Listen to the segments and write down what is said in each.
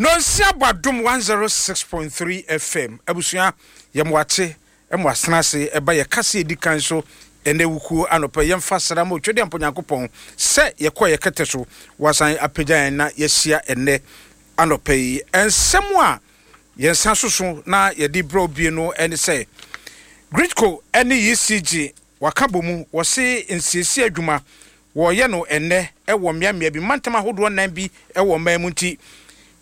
Nonsia bɔ adom 106.3 FM abusua yɛ mo akye mo asena ase ɛba yɛ kasa edi kan so ɛnɛ wukuo anɔpa yi yɛmfa aseda ma Otwedeampo Nyankopɔn sɛ yɛkɔɔ yɛ kɛtɛ so wasan apagya yɛn na yɛahyia ɛnɛ anɔpa yi. Nsɛm a yɛn nsa soso na yɛde brɛ wo bie no ɛne sɛ Gridco ɛne ECG waka bɔ mu wɔse nsiesie adwuma Wɔreyɛ no ɛnnɛ wɔ mmeammea bi, mantam ahodoɔ nnan bi wɔ ɔman mu nti,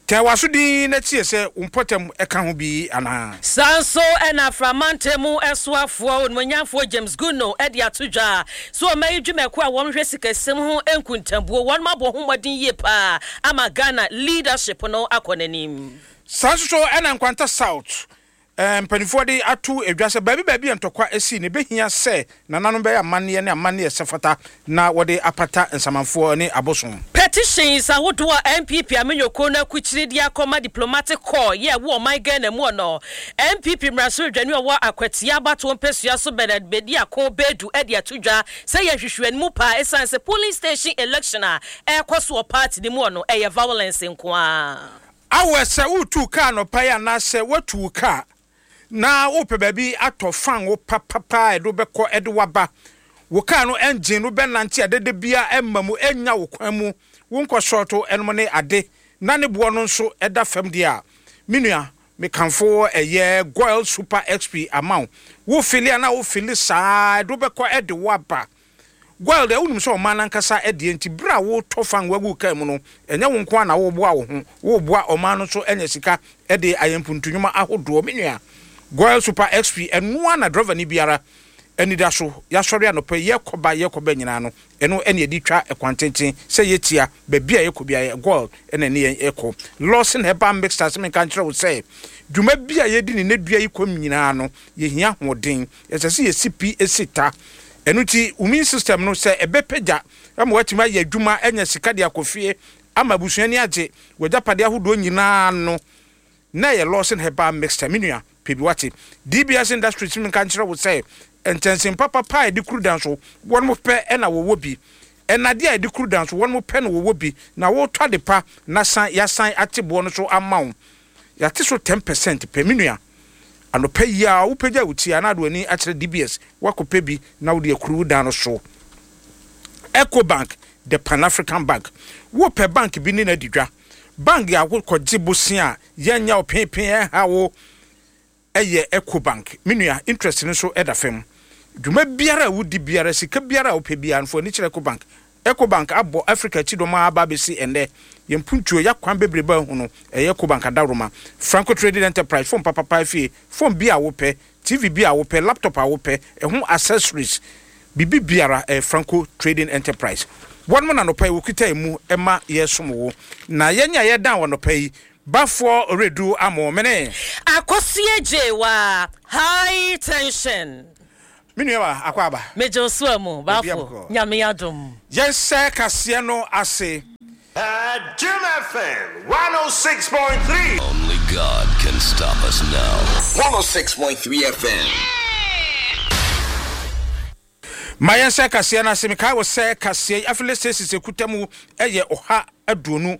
tɛn w'aso dinn na tie sɛ wo mpɔtam ka ho bi anaa. Saa nso na Afra mantam mu soafoɔ Onimuonyamfoɔ James Gunu de ato dwa sɛ ɔman yi dwumakuo a wɔhwɛ sikasɛm ho nkuntabuo wɔnom abɔ ho mmɔden yie paa ama Ghana leadership no akɔ n'anim. Saa nso so na Nkwanta South Mpanimfoɔ de ato dwa sɛ baabi baabi a ntɔkwa si no, ɛbɛhia sɛ nananom bɛyɛ amanneɛ ne amanneɛ a ɛsɛ fata na wɔde apata nsamanfoɔ ne abosom. Petitions ahodoɔ a NPP amenyokuo no akukyiri de akɔma Diplomatic Corps yɛ ɛwɔ ɔman Ghana mu ɔno NPP mmarahyɛbadwani a ɔwɔ Akwatia abatoɔ mpɛsua so Bernard Bediako Bedu de ato dwa sɛ yɛ nhwehwɛnimu paa ɛsiane sɛ polling station election a ɛrekɔ so wɔ party no mu ɔno ɛyɛ violence nko ara. Awɛ sɛ woretu kaa anɔpa yi anaasɛ woatu wo kaa na worepɛ baabi atɔ fango papapa a ɛde wo bɛkɔ de wo aba. Wo kaa no engine no bɛnante a dede biara mma mu, ɛnnya wo kwan mu, wonkɔ shɔɔto nom ne ade na ne boɔ no nso da fam deɛ a, me nua, mekamfo ɛyɛ Goil Super XP ama wo. Wo fili a na wo fili saa ara, ɛde wo bɛkɔ de wo aba. Goil deɛ, wonim sɛ ɔman no ankasa deɛ nti berɛ a woretɔ fangoo agu wo kaa mu no, ɛnyɛ wo nko ara na woreboa wo ho, woreboa ɔman no nso anya sika de ayɛ mpuntu nnwuma ahodoɔ. Me nua, Goil Super XP, ɛno ara na drɔvani biara ani da so. Yɛasɔre anɔpa yi, yɛrekɔ ba, yɛrekɔ ba nyinaa no, ɛno na yɛde twa kwan tenten sɛ yɛtia baabi a yɛkɔ biara, Goil na ɛne yɛn kɔ. Lawson Herbal Mixture, sɛ menka nkyerɛ wo sɛ, dwuma bi a yɛdi ne nnɛdua yi kɔm nyinaa no, yɛhia ahoɔden. Ɛsɛ sɛ yɛsi pi si ta. Ɛno nti, wo immune system no, sɛ ɛbɛpagya ma woatumi ayɛ adwuma anya sika de akɔ fie ama abusua ani agye, w'agyapadeɛ ahodoɔ nyinaa no, na ɛyɛ Lawson Herbal Mixture. Me nua, pɛ bi wate. DBS Industries menka nkyerɛ wo sɛ, nkyɛnse papapa a yɛde kuru dan so, wɔnom pɛ na wɔwɔ bi. Nnadeɛ a yɛde kuru dan so, wɔnom pɛ na wɔwɔ bi. Na wotɔ ade pa na san, yɛasan ate boɔ no so ama wo. Yɛate so ten percent pɛ, me nua. Anɔpa yi ara wopagya wo ti a na ade w'ani akyerɛ DBS, woakɔpɛ bi na wode akuru wo dan no so. Ecobank, the Pan African Bank. Wopɛ bank bi ne no adi dwa. Bank a wokɔgye bosea a yɛnyɛ wo peepee ɛnha wo yɛ Ecobank. Me nua, interest no nso da fam. Dwuma biara a wodi biara, sika biara a wopɛ biara no, fa w'ani kyerɛ Ecobank. Ecobank abɔ Africa kyidɔm ara aba abɛsi ɛnnɛ. Yɛn mpuntuo, y'akwan bebrebe a ahu no, ɛyɛ Ecobank adaworoma. Franco Trading Enterprise, phone papapa afie, phone bi a wopɛ, TV bi a wopɛ, laptop a wopɛ, ɛho accessories, biribi biara, ɛyɛ Franco Trading Enterprise. Wɔnom na anɔpa yi wɔkita yɛn mu ma yɛresom wo. Na yɛn a yɛredan wo anɔpa yi, Bafoɔ Oredu Amoomene. Akosua Gyewaa, High tension. Me nua ba, akɔ aba. Megye wo so amu, Bafo, Nyame adom. Yɛnhyɛ kaseɛ no ase. Adom FM 106.3. Only God can stop us now. 106.3 FM. Ma yɛnhyɛ kaseɛ no ase. Mekae wo sɛ kaseɛ yi afile stations ɛkuta mu yɛ 122.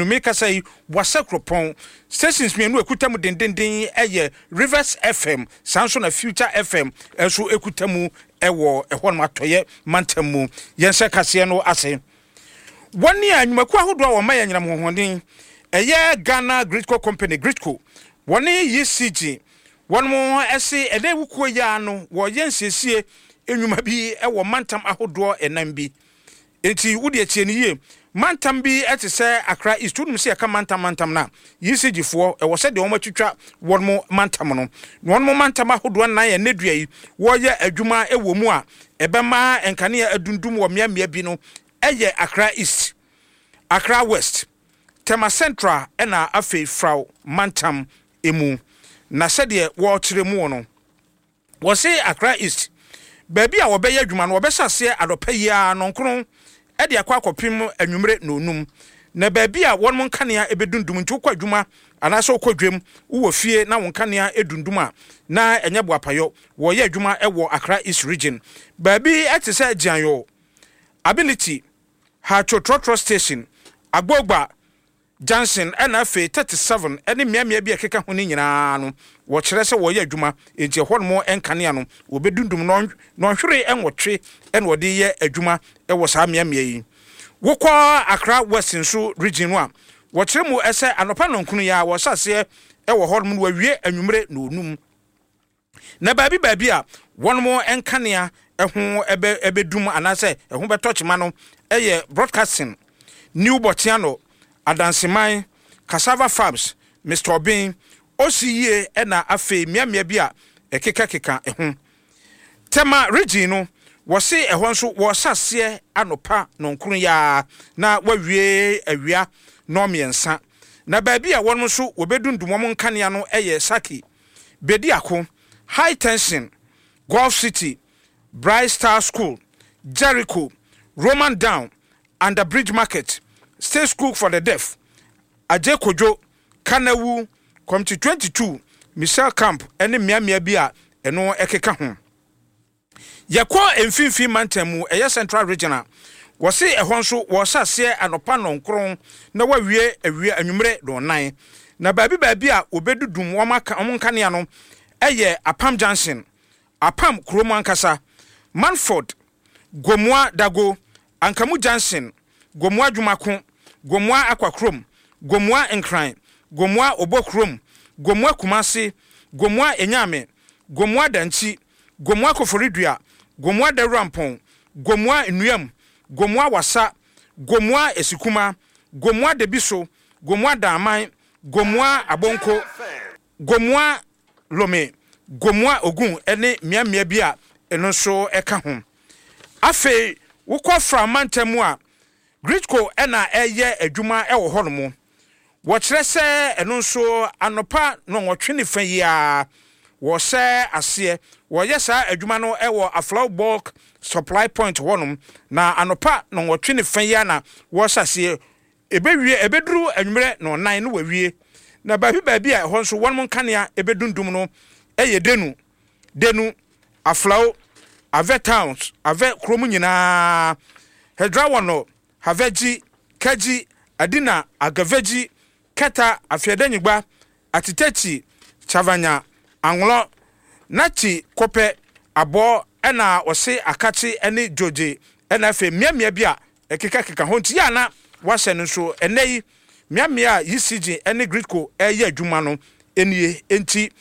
Mekasa yi, Wassa kuropɔn. Stations mmienu a ɛkuta mu dendenden yɛ Rivers FM, saa nso na Future FM nso kuta mu wɔ ɛhɔnom atɔeɛ mantam mu. Yɛnhyɛ kaseɛ no ase. Wɔn a nnwumakuo ahodoɔ a wɔma yɛn anyinam honhoɔden, ɛyɛ Ghana Gridco Company, Gridco, wɔne ECG, wɔn se ɛnɛ wukuo yi ara no wɔreyɛ nsiesie nnwuma bi wɔ mantam ahodoɔ nnan bi. Enti wo deɛ tie no yie. Mantam bi te sɛ Accra East, wonim sɛ yɛka mantam mantam no a, ECG foɔ, ɛwɔ sɛ deɛ wɔatwitwa wɔn mantam no. Na wɔn mantam ahodoɔ nnan a ɛnnɛ dua yi wɔreyɛ adwuma wɔ mu a ɛbɛma nkanea adundum wɔ mmeammea bi no yɛ Accra East, Accra West, Tema Central ɛna afei Frao mantam mu. Na sɛdeɛ wɔrekyerɛ mu no, Wɔse Accra East, baabi a wɔbɛyɛ adwuma no, wɔbɛhyɛ aseɛ anɔpa yi ara nnɔnkron de akɔ akɔpem anwummere nnɔnnum. Na baabi a wɔn nkanea bɛdundum nti wokɔ adwuma anaasɛ wokɔ dwam, wowɔ fie na wo nkanea dundum a, na ɛnyɛ boapayɔ. Wɔreyɛ adwuma wɔ Accra East Region. Baabi te sɛ Gyanyo, Ability, Hatcho Trɔtrɔ Station, Agbogba, Junction ɛna afei 37 ne mmeammea bi a ɛkeka ho no nyinaa no, wɔkyerɛ sɛ wɔyɛ adwuma, enti ɛhɔnom nkanea no wɔbɛdundum nnɔnhwere nwɔtwe na wɔde yɛ adwuma wɔ saa mmeammea yi. Wokɔ Accra West nso region no a, wɔkyerɛ mu sɛ anɔpa nnɔnkron yi ara wɔhyɛ aseɛ wɔ hɔnom na wɔawie anwummere nnɔnnum. Na baabi baabi a wɔn nkanea ho bɛdum anaasɛ ɛho bɛtɔ kyema no yɛ Broadcasting, New Botiano, Adanseman, Cassava Fabs, Mister Obeng, Osi Yie ɛna afei mmeammea bi a ɛkekakeka ho. Tema Region no, wɔse ɛhɔ nso wɔrehyɛ aseɛ anɔpa nnɔnkron yi ara na wɔawie awia nnɔnmiɛnsa. Na baabi a wɔn nso wɔbɛdundum wɔn nkanea no yɛ Saki, Bediako, High Tension, Gulf City, Bright Star School, Jericho, Roman Down, Under Bridge Market, State School for the Deaf, Adjei Kojo, Kanawu, Committee 22, Michel Camp ne mmeammea bi a ɛno keka ho. Yɛkɔ mfimfini mantam mu, ɛyɛ Central Region a, wɔse ɛhɔ nso wɔhyɛ aseɛ anɔpa nnɔnkron na wɔawie awia anwummere nnɔnnan. Na baabi baabi a wɔbɛdudum wɔn aka wɔn nkanea no yɛ Apam Junction, Apam kurom ankasa, Manford, Gomoa Dago, Ankamu Junction, Gomoa Dwumako, Gomoa Akwakurom, Gomoa Nkran, Gomoa Obokurom, Gomoa Kumasi, Gomoa Enyame, Gomoa Dankyi, Gomoa Koforidua, Gomoa Dawurampɔn, Gomoa Nnuam, Gomoa Wassa, Gomoa Esikuma, Gomoa Debiso, Gomoa Daaman, Gomoa Abonko, Gomoa Lome, Gomoa Ogun ne mmeammea bi a ɛno nso ka ho. Afei wokɔ Afram mantam mu a, Gridco na ɛreyɛ adwuma wɔ hɔnom. Wɔkyerɛ sɛ ɛno nso anɔpa nnɔnwɔtwe ne fa yi ara wɔhyɛ aseɛ. Wɔyɛ saa adwuma no wɔ Aflao Bulk Supply Point hɔnom, na anɔpa nnɔnwɔtwe ne fa yi ara na wɔhyɛ aseɛ. Ɛbɛwie, ɛbɛduru anwummerɛ nnɔnnan na wɔawie. Na baabi baabi a ɛhɔ nso wɔn nkanea bɛdundum no yɛ Denu, Denu, Aflao, Avɛ Towns, Avɛ kurom nyinaa, Hedrawɔnɔ, Havɛdzi, Kadzi, Adina, Agavedzi, Kɛta, Afeadanyigba, Atsitetsi, Tsavanya, Anglɔ, Natsi, Kopɛ, Abɔɔ na Ɔse Akatse ne Dzodze na afei mmeammea bi a ɛkekakeka hɔ ntsi yɛ a na wɔahyɛ no nso. Ɛnnɛ yi, mmeammea a ECG ne Gridco reyɛ adwuma no nie, enti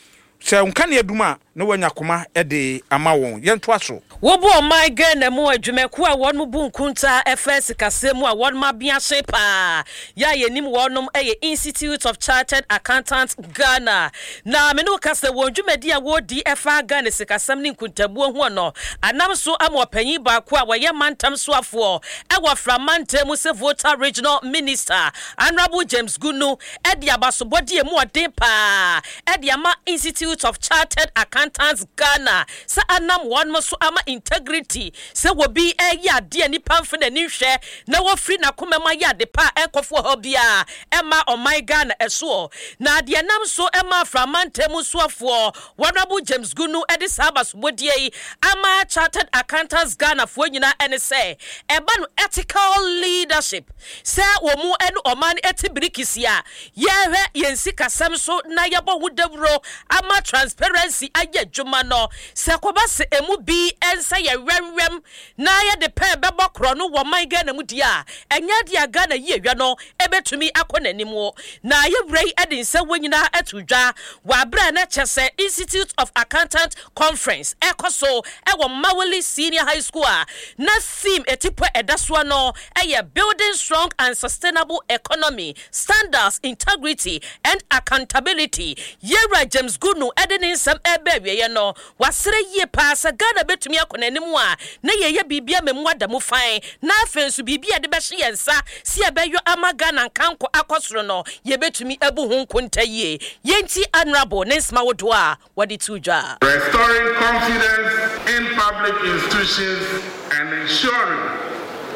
sɛ nkanea dum a na wɔanya koma de ama wɔn. Yɛntoa so. Wobu ɔman Ghana mu adwumakuo a wɔnom bu nkuntaa ɛfa sikasɛm mu a wɔnom abea hye paa yɛ a yɛnim wɔnom yɛ Institute of Chartered Accountants Ghana na me ne wo ka sɛ wɔn dwumadi a wɔredi ɛfa Ghana sikasɛm ne nkuntabuo ho no anam so ama ɔpanyin baako a wɔyɛ mantam soafoɔ ɛwɔ Afra mantam mu sɛ Volta Regional Minister Honourable James Gunu de abasobɔdeɛ emu ɔden paa de ama Institute of Chartered Accountants Ghana sɛ anam wɔnom so ama integrity sɛ obi reyɛ adeɛ a nnipa mfa n'ani nhwɛ na wɔfiri n'akoma mu ayɛ ade pa a ɛnkɔfo ɔhaw biara ɛmma ɔman Ghana ɛsoɔ. Na deɛ ɛnam so ma Afra mantam soafoɔ Honourable James Gunu de saa abasobɔdeɛ yi ama Chartered Accountants Ghana foɔ nyinaa ɛne sɛ ɛba no ethical leadership sɛ wɔn ne ɔman no te birikisi a, yɛhwɛ yɛn sikasɛm so na yɛbɔ ho dawuro ama transparency ayɛ adwuma no. Sɛ ɛkɔba sɛ ɛmu bi nsa yɛ wɛmwɛm na yɛde pɛɛ bɛbɔ korɔno wɔ ɔman Ghana mu deɛ a, ɛnyɛ adeɛ a Ghana yieyɔ no bɛtumi akɔ n'anim. Na yɛwura yi de nsɛm wɔ nyinaa ato dwa wɔ aberɛ a na kyɛ sɛ Institute of Accountant Conference ɛrekɔ so wɔ Mawuli Senior High School a na theme etipɔ a ɛda soɔ no yɛ Building Strong and Sustainable Economy, Standards, Integrity and Accountability. Yɛwura James Gunu de ne nsɛm reba awieɛ no, wasrɛ yie paa sɛ Ghana bɛtumi akɔ n'anim a na yɛyɛ biribi ama mu ada mu fann na afei nso biribi a yɛde bɛhye yɛn nsa sɛ yɛbɛyɔ ama Ghana nkankɔ akɔ soro no yɛbɛtumi abu ho nkonta yie. Yɛnti Honourable ne nsɛm ahodoɔ a wɔde too dwa. Restoring confidence in public institutions and ensuring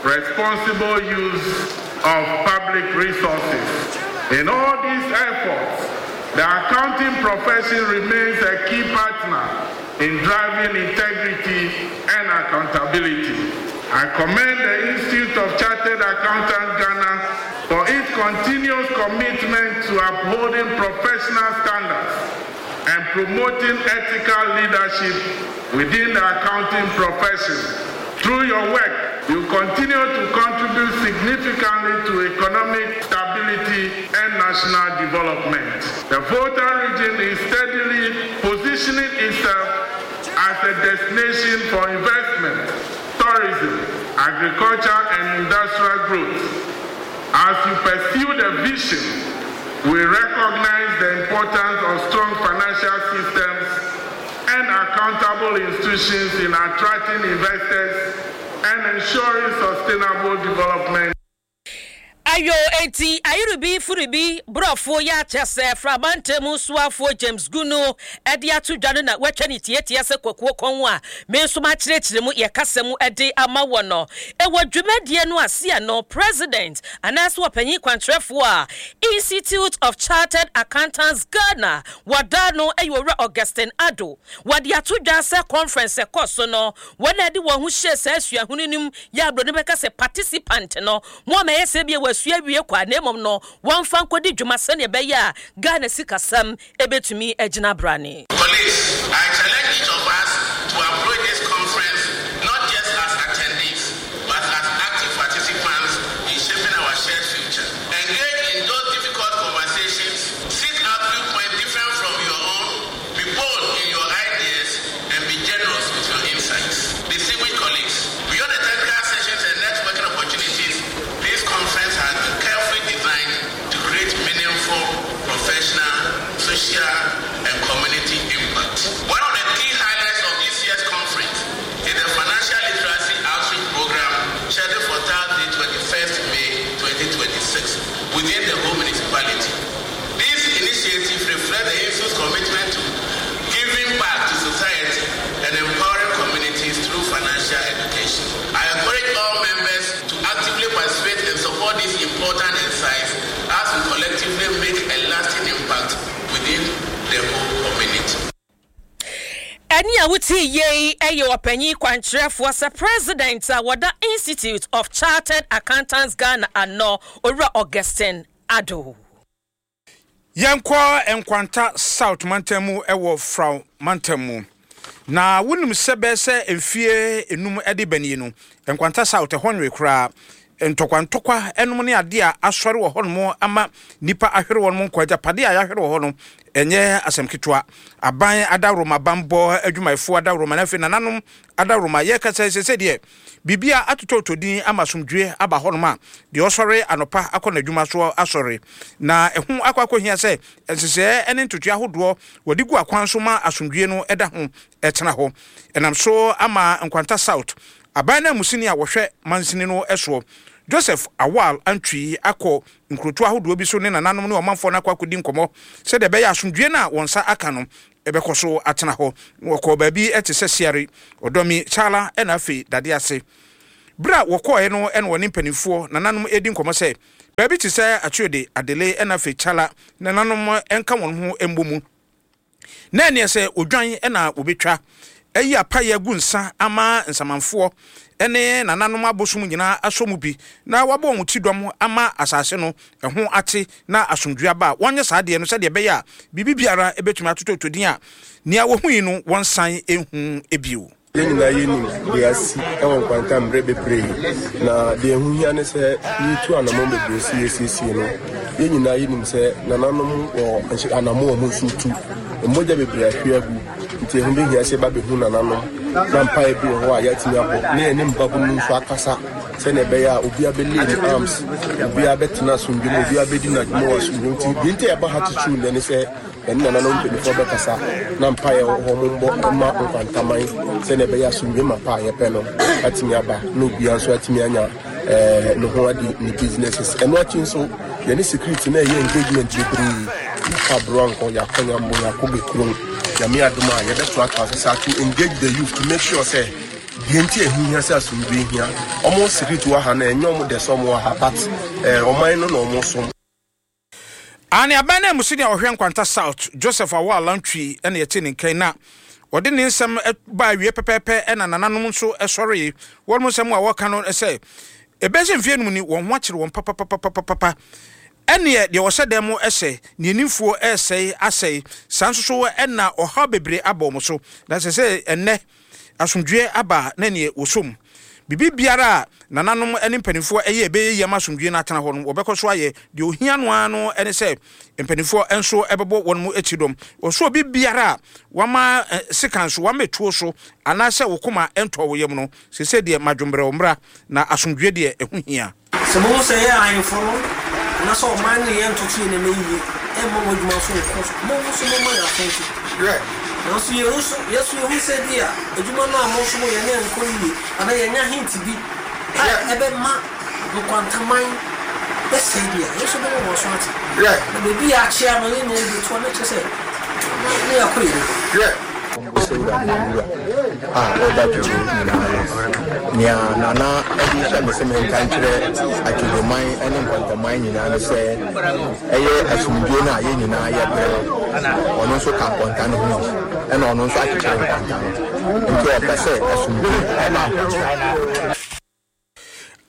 responsible use of public resources. In all these efforts, the accounting profession remains a key partner in driving integrity and accountability. I commend the Institute of Chartered Accountants Ghana. for its continuous commitment to upholding professional standards and promoting ethical leadership within the accounting profession. Through your work, you continue to contribute significantly to economic stability and national development. The Volta region is steadily positioning itself as a destination for investment, tourism, agriculture, and industrial growth. As you pursue the vision, we recognize the importance of strong financial systems and accountable institutions in attracting investors and ensuring sustainable development. Ayo enti Ayerubi Furibi Borɔfo yɛ akyɛ sɛ Fraba ntamu soafoɔ James Gunu de ato dwa no na watwa ne tiatia sɛ kwakuo kɔn a me nso makyerɛkyerɛ mu yɛ kasa mu de ama wɔ no. Wɔ dwumadie no aseɛ no, President anaasɛ ɔpanyin kwankyerɛfoɔ a Institute of Chartered Accountants Ghana wɔda ano yɛ Owura Augustine Addo. Wɔde ato dwa sɛ conference ɛkɔ so no, wɔn a ɛde wɔn ho hyɛɛ saa suahunu no mu yɛ a buroni bɛka sɛ participant no, mo a mɛyɛ sɛ ebia wɔasua awie kwa na mmom no wɔmfa nkɔdi dwuma sɛnea ɛbɛyɛ a Ghana sikasɛm ebetumi agyina brane. Colleagues, I challenge each of us to approach this conference not just as attendees, but as active participants in shaping our shared future. Engage in those difficult conversations, seek out viewpoints different from your own, be bold in your ideas, and be generous with your insights. Distinguished colleagues, beyond the technical sessions and networking opportunities, this conference has been carefully designed to create meaningful professional, social, and community impact. One of the key highlights of this year's conference is the Financial Literacy Outreach Program scheduled for Thursday, 21st May 2026, within the Ho municipality. This initiative reflects the Institute's commitment to giving back to society and empowering communities through financial education. I encourage all members to actively participate and support this important exercise as we collectively make a lasting impact within the Ho community. Ɛnne a wotie yei yɛ ɔpanyin kwankyerɛfoɔ sɛ President a wɔda Institute of Chartered Accountants Ghana ano, Owura Augustine Addo. Yɛnkɔ Nkwanta South mantam mu wɔ Frao mantam mu. Na wonim sɛ bɛyɛ sɛ mfie enum de ba nie no, Nkwanta South ɛhɔ nwe koraa. Ntɔkwa ntɔkwa nom ne adeɛ a asɔre wɔ hɔnom ama nnipa ahwere wɔn nkwa. Agyapadeɛ a yɛahwere wɔ hɔ no, ɛnyɛ asɛm ketewa. Aban adaworoma, banbɔ adwumayɛfoɔ adaworoma, na afei nananom adaworoma. Yɛrekasa yi, seesei deɛ biribiara atotɔtotɔ din ama asomdwoeɛ aba hɔnom a, deɛ ɔsɔre anɔpa akɔ n'adwuma so asɔre. Na ɛho akɔ akɔhia sɛ nhyehyɛeɛ ne ntotoeɛ ahodoɔ wɔde gu akwan so ma asomdwoeɛ no da ho tena hɔ. Ɛnam so ama Nkwanta South aban nanmusini a wɔhwɛ mansini no soɔ, Joseph Awal Antwi akɔ nkurotoɔ ahodoɔ bi so ne nananom ne ɔmanfoɔ no akɔ akɔdi nkɔmmɔ sɛdeɛ ɛbɛyɛ a asomdwoeɛ no a wɔn nsa aka no bɛkɔ so atena hɔ. Wɔkɔɔ baabi te sɛ Siare, Ɔdɔmi, Kyala na afei Dade ase. Berɛ a wɔkɔeɛ no na wɔne mpanimfoɔ, nananom redi nkɔmmɔ sɛ baabi te sɛ Atweode, Adele na afei Kyala nananom nka wɔn ho mmɔ mu. Na ɛneɛ sɛ odwan na wɔbɛtwa, ayi apaeɛ agu nsa ama nsamanfoɔ ne nananom abosom nyinaa asɔ mu bi, na wɔabɔ wɔn ti dɔm ama asase no ho ate na asomdwoeɛ aba a, wɔnyɛ saa adeɛ no sɛdeɛ ɛbɛyɛ a biribi biara bɛtumi atotɔtotɔ din a nea wɔhui no wɔnsan nhu bio. Yɛn nyinaa yɛnim deɛ asi wɔ nkwanta mmerɛ bebree, na deɛ ɛho hia ne sɛ yɛtu anammɔn bebree sɛ yɛsiesie no. Yɛn nyinaa yɛnim sɛ nananom wɔ anammɔn a wɔn nso tu. Mogya bebree ahwie agu, nti ɛho bɛhia sɛ yɛba bɛhu nananom na mpaeɛ bi wɔ hɔ a yɛatumi abɔ na yɛne mmabunu nso akasa sɛnea ɛbɛyɛ a obiara bɛlay ne arms, obiara bɛtena asomdwe mu, obiara bɛdi n'adwuma wɔ asomdwe mu. Nti deɛ nti a yɛba ha titiriw nnɛ ne sɛ Yɛne nananom mpanimfoɔ bɛkasa na mpaeɛ wɔ hɔ mommɔ mma nkwantaman sɛdeɛ ɛbɛyɛ asomdwe mapa a yɛpɛ no atumi aba na obiara nso atumi anya eh, ne ho adi ne businesses. Ɛno akyi nso yɛne security na ɛyɛ engagement bebree. Yɛakɔ Aborɔnkɔ, yɛakɔ Nyambo, yɛakɔ Bekurom. Nyame adom a yɛbɛtoatoa so saa to engage the youth to make sure sɛ deɛ nti a ɛho hia sɛ asomdwe hia. Wɔn security wɔ ha no ɛnyɛ wɔn dɛ sɛ wɔn wɔ ha but eh, ɔman no na wɔn som. Aane, aban nanmusini a ɔhwɛ Nkwanta South, Joseph Awuah Lantwi na yɛte ne nka yi na ɔde ne nsɛm baa awieɛ pɛpɛɛpɛ na nananom nso sɔree. Wɔnom nsɛm a wɔka no sɛ, Ɛbɛyɛ sɛ mfeɛ num ni, wɔn ho akyere wɔn papapapapapa. Ɛnneɛ deɛ wɔhyɛ dan mu hyɛ, ne animfoɔ resɛe asɛe, saa nso so na ɔhaw bebree aba wɔn so. Na ɛsɛ sɛ ɛnnɛ asomdwoeɛ aba a, na ɛnneɛ wɔsɔ mu. Biribi biara a nananom ne mpanimfoɔ yɛ a ɛbɛyɛ yie ama asomdwoeɛ no atena hɔ no, wɔbɛkɔ so ayɛ. Deɛ ɔhia no ara no ne sɛ mpanimfoɔ nso bɛbɔ wɔn kyidɔm. Wɔsɔ obi biara a wama sekan so, wama tuo so, anaasɛ wo koma ntɔɔ wo yam no, Seesei deɛ, ma dwombrɛw mmra, na asomdwoeɛ deɛ, ɛho hia. Sɛ mohu sɛ yɛn ahemfo no, anaasɛ ɔman no reyɛ ntoto yɛn nneɛma yiye, ɛmma mo adwuma nso nkɔ so, mo nso momma yɛn aso nte. Nanso yɛn nso, yɛn nso yehu sɛ ebia adwuma no a mo nso moyɛ no nkɔ yiye, anaa yɛanya hint bi a ɛbɛma nkwantaman bɛsɛe bi a, yɛn nso yɛbɛma mo aso ate. Na baabi a akyea no, yɛn nyinaa bi to a, na kyerɛ sɛ na yɛakɔ yɛn anim. Ɔsɛ wura ne wura a ɔba dwom nyinaa no. Nea Nana de hyɛ me sɛ menka nkyerɛ Atwodwoman ne Nkwantaman nyinaa ne sɛ ɛyɛ asomdwoe no a yɛn nyinaa yɛpɛ no, ɔno nso ka nkwanta no ho bi, ɛna ɔno nso akyekyere nkwanta no. Nti ɔpɛ sɛ asomdwoe ba nkwanta.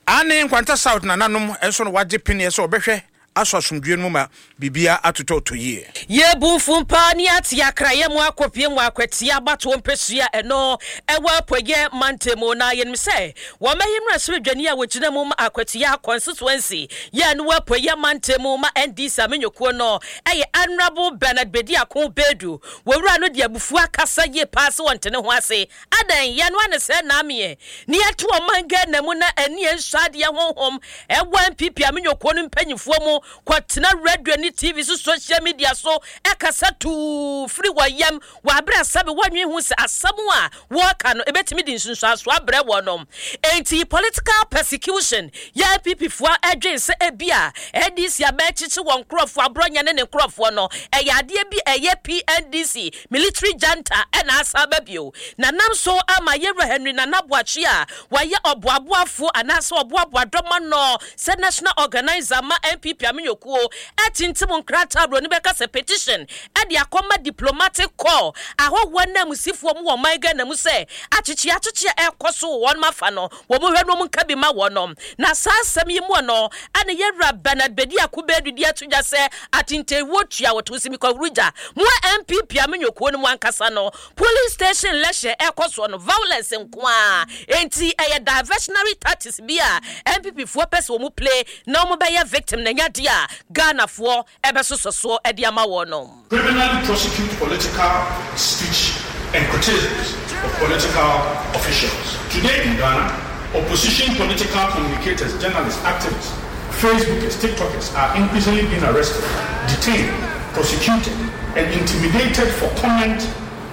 Aane, Nkwanta South nananom nso na wɔagye peneɛ sɛ wɔbɛhwɛ asɔ asomdwoeɛ no mu ma biribiara atotɔtɔ yie. Yɛbu mfum paa ne ate akraeɛ mu akɔpie mu akwatia abatoɔ mpɛsua a ɛno ɛwɔ apueɛ mantam mu na yɛnim sɛ wɔmɛyi mmarahyɛbadwani a wɔgyina mu ma akwatia constituency yɛ ɛno wɔ apueɛ mantam mu ma NDC amenyokuo no ɛyɛ Honourable Bernard Bediako Bedu. Wɔwura no de abufuo akasa yie paa sɛ wɔnte ne ho ase. Adɛn, yɛnoa no sɛɛ na ameɛ ne yɛte ɔman Ghana mu na ani nsɔ adeɛ honhom ɛwɔ NPP amenyokuo no mpanyinfoɔ mu kɔtena radio ne TV so social media so ɛkasa tuu firi wɔ yam wɔ aberɛ a sɛbe wɔnwen ho sɛ asɛm a wɔreka no ɛbɛtumi de nsunsuansoɔ abrɛ wɔnom. Enti political persecution yɛ NPP foɔ ɛdwen sɛ ebia NDC abɛkyekye wɔn nkorɔfoɔ aborɔnyɛ ne ne nkorɔfoɔ no ɛyɛ adeɛ bi ɛyɛ PNDC Military junta na asan aba bio, na nam so ama Yɛwura Henry Nana Boakye a wayɛ ɔboaboafoɔ anaasɛ ɔboaboa dɔm ano sɛ National Organiser ma NPP amenyokuo atintim nkrataa a buroni bɛka sɛ petition de akɔma Diplomatic Corps ahɔhoɔ ananmusifoɔ mu wɔ ɔman Ghana mu sɛ akyekye akyekye a ɛrekɔ so wɔ wɔn afa no wɔn hwɛ no wɔn nka bi ma wɔn. Na saa asɛm yi mu no ɛna Yɛwura Bernard Bediako Badu de ato dwa sɛ atentewuo tua wɔto simi kɔhuru gya mo a NPP amenyokuo no mu ankasa no polling station election ɛkɔ soɔ no violence nko ara enti ɛyɛ diversionary tactics bi a NPP foɔ pɛ sɛ wɔn play na wɔn bɛyɛ victim na ɛnyɛ adeɛ a Ghanafoɔ ɛbɛsosɔ soɔ de ama wɔn. Criminally prosecute political speech and criticisms of political officials. Today in Ghana, opposition political communicators, journalists, activists, Facebookers, TikTokers are increasingly being arrested, detained, prosecuted, and intimidated for comment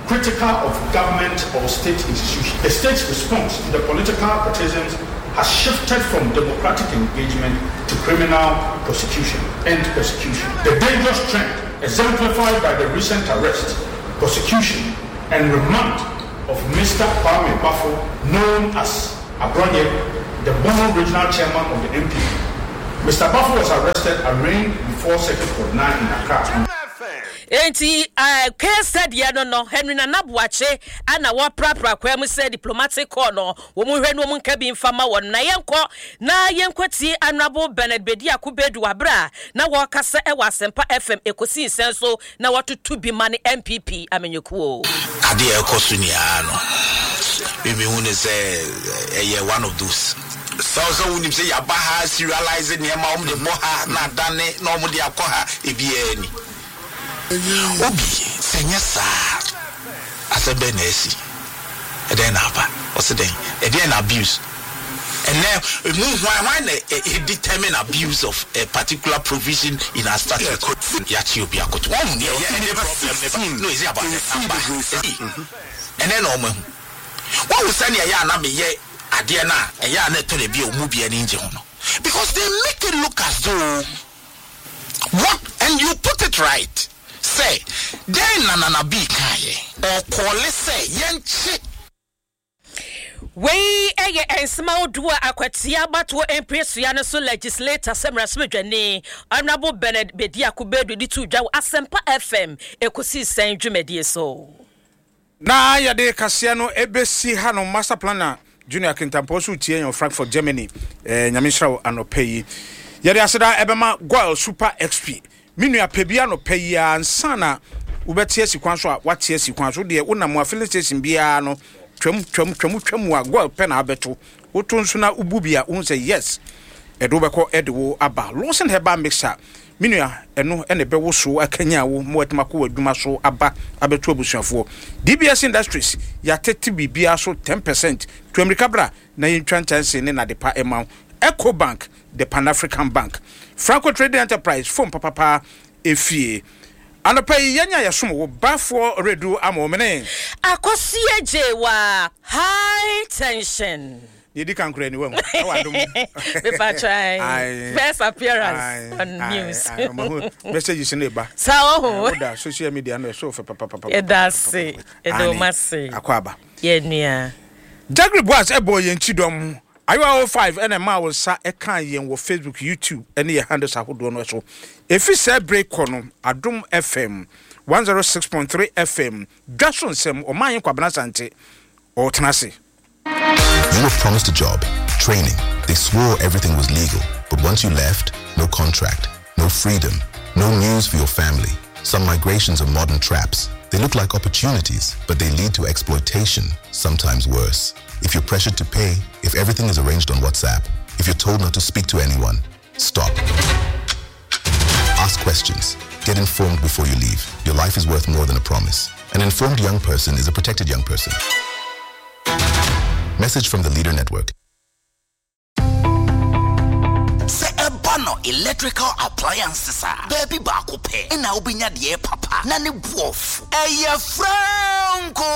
critical of government or state institutions. The state's response to the political criticisms has shifted from democratic engagement to criminal prosecution and persecution. The dangerous trend, exemplified by the recent arrest, prosecution, and remand of Mr. Kwame Bafo, known as Abronye, the Bono Regional Chairman of the NPP. Mr. Bafo was arrested, arraigned before Circuit Court 9 in Accra. Enti case study no no, Henry Nana Boakye na wɔprapra kwaa mu sɛ diplomatic corps no wɔn nhwɛ na wɔn nka bi mfa ma wɔn. Na yɛnkɔ na yɛnkɔtie Honourable Bernard Bediako Bedu wɔ abere a na wɔrekasa wɔ Asempa FM ɛkɔsii nsɛn so na wɔtoto bi ma ne NPP amanyɔkuo. Adeɛ a ɛkɔ so nyinaa no, me mehu no sɛ ɛyɛ one of those. Sɛ sɛ wonim sɛ yɛaba ha serialize nneɛma, wɔn de bɔ ha na adane na wɔn de akɔ ha, ebiara ni. Obi, sɛ ɛnyɛ saa a, asɛm bɛn na asi? Ɛdɛn na aba? Ɔse dɛn? Ɛdeɛn na abuse? Ɛnɛ, emu hwan hwan na determine abuse of a particular provision in our statute? Yɛakye obi akoto. Wɔn deɛ ɛyɛ ɛde problem ne ba. No, is it about the number? Ɛnɛ na wɔn ahu. Wɔn sɛnea ɛyɛ a na meyɛ adeɛ no a ɛyɛ a na ɛtɔ da bi a wɔn mu bi ani ngye ho no. Because they make it look as though What and you put it right sɛ dɛn na Nana B kaeɛ? Ɔkɔɔle sɛ yɛnkye. Wei yɛ nsɛm ahodoɔ a Akwatia abatoɔ mpresua no so legislator sɛ mmarahyɛbadwani Honourable Bernard Bediako Bedu de too dwa wɔ Asempa FM ɛkɔsii sɛn dwumadie so. Na yɛde kaseɛ no bɛsi hanom. Master Planner. Junior Kintampɔ nso retie yɛn wɔ Frankfurt, Germany. Eh, Nyame nhyira wo anɔpa yi. Yɛde aseda ɛbɛma Goil Super XP. Me nua pɛ bi anɔpa yi ara ansa na wobɛte asi kwan so a woate asi kwan so. Wodeɛ wonam a filling station biara no twam twam twam twam a Goil pɛ na abɛto. Woto nso na wobu bi a wohu sɛ yes ɛde wobɛkɔ ɛde wo aba. Lawson Herbal Mixture Me nua, ɛno na ɛbɛwosow akanyan wo ma woatumi akɔ w'adwuma so aba abɛto abusuafoɔ. DBS Industries, yɛatete biribiara so ten percent. Tu ammirika bra na yɛntwa nkyɛnse ne nnade pa mma wo. Ecobank, the Pan-African Bank. Franco Trading Enterprise, fon papapa efie. Anɔpa yi, yɛn a yɛsom wo, Bafoɔ redu ama wo mene. Akosua Gyewaa, High tension. Deɛ ɛdi kan koraa ni wahu ɛwɔ adom. Mepa try. First appearance on news. Messages no ɛba. Saa ɔho. Woda social media no ɛso fɛ papapapa. Ɛda ase. Ɛda ɔma ase. Akɔ aba. Yɛ nua. Jagri Boas ɛbɔɔ yɛn kyidɔm. Ayewa 05 ɛna ɛmaa wo nsa ɛkaa yɛn wɔ Facebook, YouTube ɛne yɛn handles ahodoɔ no so. Ɛfiri saa bere kɔ no, Adom FM 106.3 FM, dwa so nsɛm, Ɔman Kwabena Asante, ɔretena ase. You were promised a job, training. They swore everything was legal. But once you left, no contract, no freedom, no news for your family. Some migrations are modern traps. They look like opportunities, but they lead to exploitation, sometimes worse. If you're pressured to pay, if everything is arranged on WhatsApp, if you're told not to speak to anyone, stop. Ask questions. Get informed before you leave. Your life is worth more than a promise. An informed young person is a protected young person. Message from the Leader Network. Sɛ ɛba no electrical appliances a, baabi baako pɛ na wobɛnya deɛ ɛyɛ papa na ne boɔ fo. Ɛyɛ Franco!